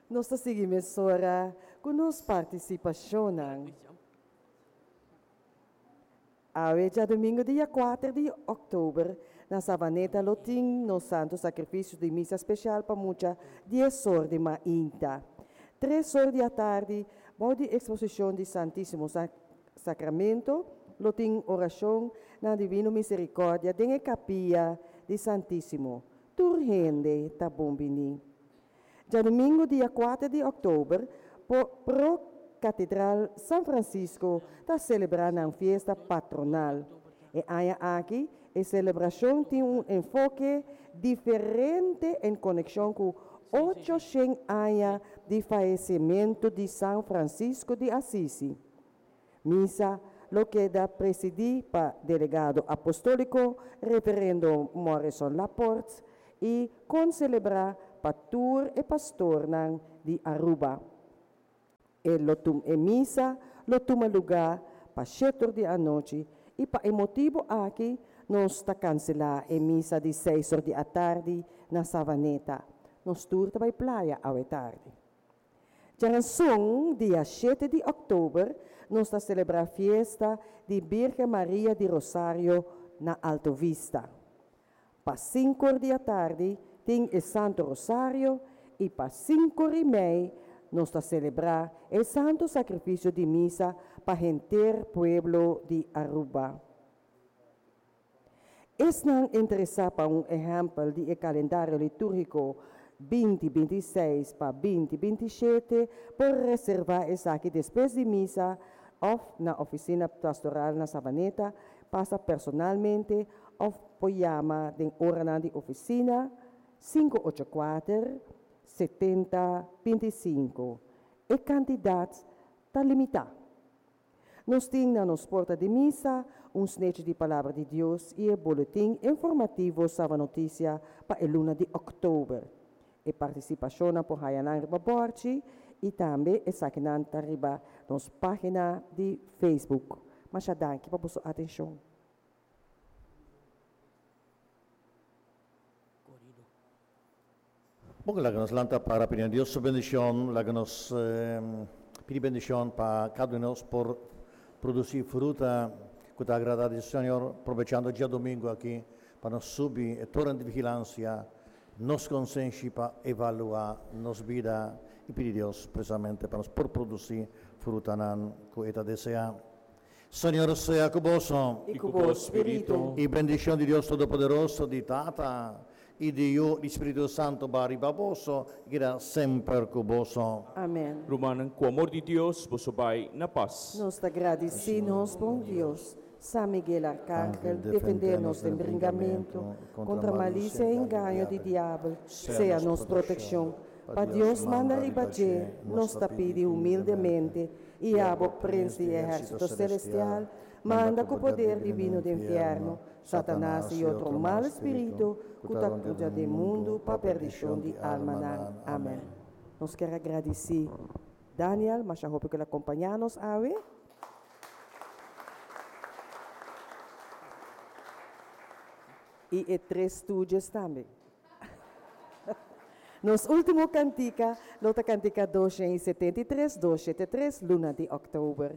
Nos ta sigui mesora ku nos partisipashonnan. Awe djadumingu dia kuater di òktober na Savaneta lo tin nos Santo Sakrifisio di Misa Spesial pa mucha dies or di mainta. Tres or di atardi bou di eksposishon di Santísimo Sakramento lo tin orashon na Divino Miserikòrdia den e kapia di Santísimo. Tur hende ta bon bini. Djadumingu dia kuater di òktober, Pro Katedral San Francisco ta selebrá nan fiesta patronal. E aña aki e selebrashon tin un enfoke diferente en konekshon ku 800 aña di fayesimentu di San Francisco di Asisi. Misa lo keda presidí pa Delegado Apostóliko Reverendo Morrison Laporte i konselebrá pa tur e pastornan di Aruba. E lo tum e misa lo tuma lugá pa shetor di anochi i pa e motibu aki nos ta kanselá e misa di seis or di atardi na Savaneta. Nos tur ta bai playa awe tardi. Djaranson, dia shete di òktober, nos ta selebrá fiesta di Birgen Maria di Rosario na Alto Vista. Pa sinkor di atardi tin e Santo Rosario i pa sinkor i mei nos ta selebrá e Santo Sakrifisio di Misa pa henter pueblo di Aruba. Esnan interesá pa un ehèmpel di e kalendario litúrgiko binti 26 pa binti 27 por reservá esaki despues di misa òf na ofisina pastoral na Savaneta, pasa personalmente òf por yama den oranan di ofisina 584 70 25. E kantidat ta limitá. Nos tin na nos porta di misa un snechi di Palabra di Dios i e boletin informativo Saba Noticia pa e luna di òktober. E partisipashonnan por haya nan riba bòrchi i tambe esakinan ta riba nos página di Facebook. Masha danki pa boso atenshon. Bon, laga nos lanta para pidi Dios su bendishon, laga nos pidi bendishon pa kada un di nos por produsí fruta ku ta agradá di Señor, probechando djadumingu aki pa nos subi e toren di vigilansia, nos konsenshi pa evaluá nos bida i pidi Dios presamente pa nos por produsí frutanan ku e ta deseá. Señor sea ku boso. I ku bo spiritu. I bendishon di Dios Todopoderoso, di Tata, i di Yu, i di Spiritu Santu ba riba boso i keda semper ku boso. Amen. Rumannan, ku amor di Dios boso bai na pas. Nos ta gradisí nos bon Dios. San Miguel Arcángel, defendé nos den bringamentu kontra malisia i engaño di diabel. Sea nos protekshon. Pa Dios manda riba dje, nos ta pidi humildemente, I abo, Prins di ehérsito selestial, manda ku poder divino den fièrnu Satanas i otro mal spiritu ku ta krusa den mundu pa perdishon di almanan. Amèn. Nos kier a gradisí Daniel masha hopi ku el a kompañá nos awe. I e tres Stooges tambe. Nos último kantika lo ta kantika 273, 273, luna di òktober.